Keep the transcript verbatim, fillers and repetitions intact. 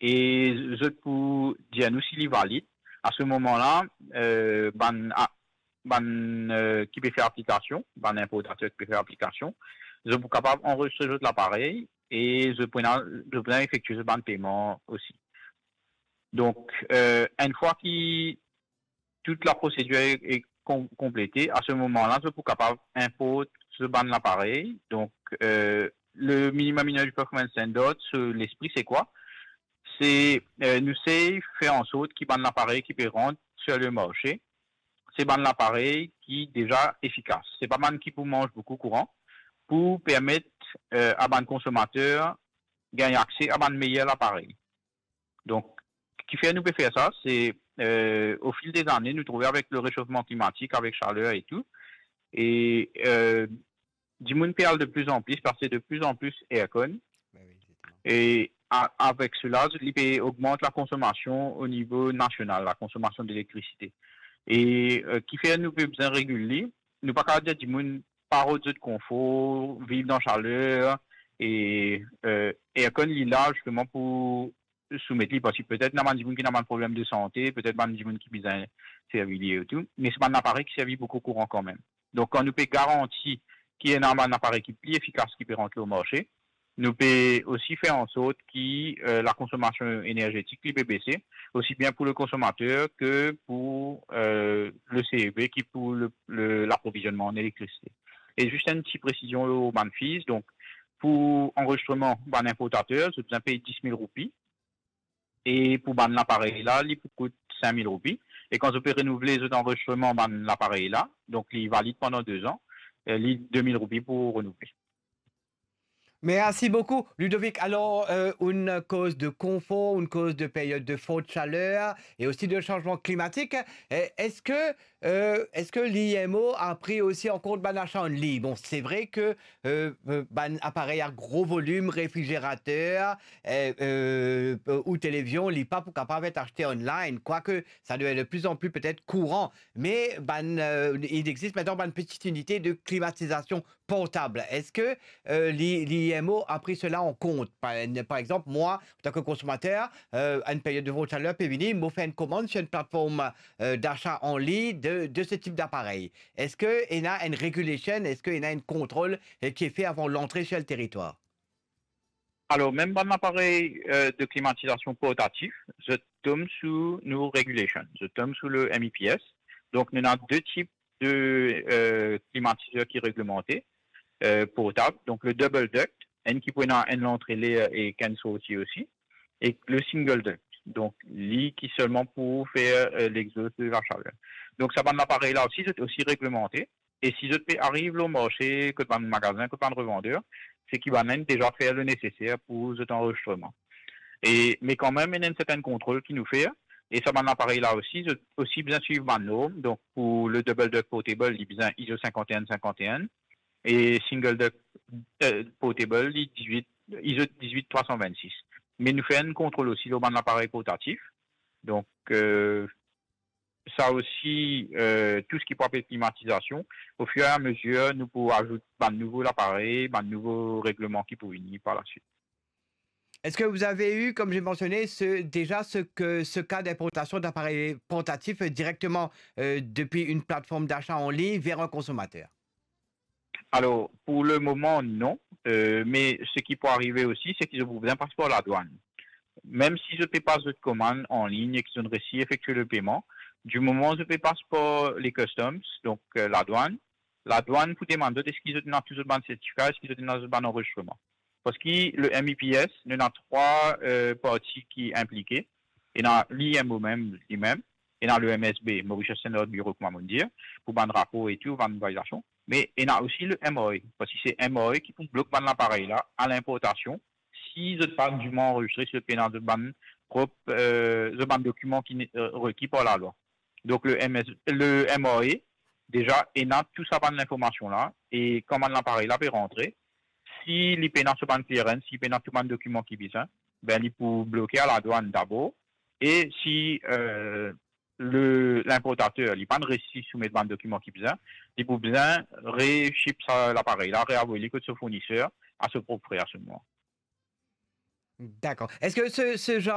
e zot pou dir nou si li valid. A se moman la, eh, bann, a-, bann, eh, ki pe fer aplikasion, bann inportater ki pe fer aplikasion, zot pou kapav anrezistre zot laparey e zot pou ena, zot pou ena efektie zot bann peyman osi. Donk, eh, enn fwa ki tou laprosedir e, e kon-, konplete, a se moman la, zot pou kapav inport zot bann laparey. Donk, eh, le minimum energy performance standard, so lespri se kwa? Se, eh, nou sey fer ansort ki bann laparey ki pe rant sir le marse, se bann laparey ki deza efikas. Se pa bann ki pou manz boukou kouran, pou permet, eh, a bann konsomater gagn akse a bann meyer laparey. Donk, kifer nou pe fer sa, se, eh, o fil de zane, nou trouve avek le resofman klimatik, avek saler e tou, e, eh, dimoun pe al de pli an pli, pe aste de pli an pli aircon. Ben wi, exactement. E a-, avek sela, li pe ogmant lakonsomasion o nivo nasional, lakonsomasion delektriste. E, eh, kifer nou pe bizin regil li? Nou pa kapav dir dimoun pa rod zot konfor, viv dan saler, e, eh, aircon li la zisteman pou soumet li, parski petet ena bann dimoun ki ena bann problem de sante, petet bann dimoun ki bizin servi li e tou, me se bann aparey ki servi boukou kouran kanmem. Donk, kan nou pe garanti ki ena bann aparey ki pli efikas ki pe rant lor marse, nou pe osi fer ansort ki, eh, lakonsomasion enerzetik li pe bese, osi bien pou le konsomater ke pou, eh, le C E B ki pou le, le, laprovizionman an elektrisite. E zis enn ti presizion lor bann fees, donk, pou anrezistreman bann inportater, zot bizin pey dis mil roupi, e pou bann laparey la, li pou kout sink mil roupi. E kan zot pe renouvle zot anrezistreman bann laparey la, donk li valid pandan de zan, eh, li de mil roupi pou renouvle. Merci beaucoup, Ludovic. Alors, euh, on cause de confort, on cause de période de forte chaleur et aussi de changement climatique. Et est-ce que, euh, est-ce que l'I M O a pris aussi en compte bann achat en ligne? Bon, c'est vrai que, euh, euh, bann aparey à gros volume, réfrigérateur, euh, euh, ou télévision, li pa pou kapav et achte online, quoique ça devient de plus en plus peut-être courant. Mais bann, euh, il existe maintenant bann petite unité de climatisation portable. Est-ce que, euh, l'I-, l'I M O a pris cela en compte? Par, par exemple, moi, en tant que consommateur, euh, à une période de forte chaleur, pe vini, mo fer enn komann sur une plateforme, euh, d'achat en ligne de, de ce type d'appareil. Est-ce que ena enn regulation, est-ce que ena enn kontrol, euh, qui est fait avant l'entrée sur le territoire? Alor, mem bann aparey, eh, de klimatizasion portatif, zot tom sou nou regulation, zot tom sou le M E P S. Donk, nou ena de tip de, eh, klimatizer ki reglemante, eh, portab. Donk, le double duct, enn ki pou ena enn lantre ler ek enn sorti osi, ek le single duct. Donk, li ki selman pou fer, eh, l'exhaust de la chaleur. Donk, sa bann aparey la osi, zot osi reglemante. E si zot pe ariv lor marse, kot bann magazin, kot bann revander, se ki bann inn deza fer le neseser pou zot anrezistreman. E, me kanmem, ena enn sertin kontrol ki nou fer, e sa bann aparey la osi, zot osi bizin swiv bann norm. Donk, pou le double duct portable, li bizin ISO cinquante et un cinquante et un, e single duct, eh, portable, li dizwit, ISO dizwit trwa san vennsis. Me nou fer enn kontrol osi lor bann aparey portatif. Donk, eh, sa osi, eh, tou seki pou apel klimatizasion, au fur et à mesure, nou pou azout bann nouvo laparey, bann nouvo regleman ki pou vini par la suite. Est-ce que vous avez eu, comme j'ai mentionné, ce, déjà ce que, ce cas d'importation d'appareils portatifs directement, euh, depuis une plateforme d'achat en ligne vers un consommateur? Alor, pou le moman, non. Eh, me seki pou arive osi, se ki zot pou bizin pas par ladwann. Mem si zot pe pas zot komann an lign e ki zot resi efektie le peyman, di moman zot pe pas par le customs, donk, eh, ladwann, ladwann pou demann zot eski zot ena tou zot bann sertifika, eski zot ena zot bann anrezistreman. Parski le M E P S, nou ena trwa, eh, parti ki inplike. Ena l'I M O mem, limem, ena le M S B, Mauritius Standards Bureau, kouma mo dir, pou bann rapor e tou, bann validasion. Me ena osi le M R A, parski se M R A ki pou blok bann laparey la a linportasion, si zot pa diman anrezistre, si zot pena zot bann prop, eh, zot bann dokiman ki ne-, eh, reki par lalwa. Donk le M S, le M R A, deza, ena tou sa bann linformasion la, e kan bann laparey la pe rantre, si li pena so bann clearance, si li pena tou bann dokiman ki bizin, ben, li pou bloke a ladwann dabor, e si, eh, le, linportater, li pa'nn resi soumet bann dokiman ki bizin, li pou bizin re-ship sa laparey la, reavoy li kot so fourniser, a so prop fre a se moman. D'accord. Est-ce que ce, ce genre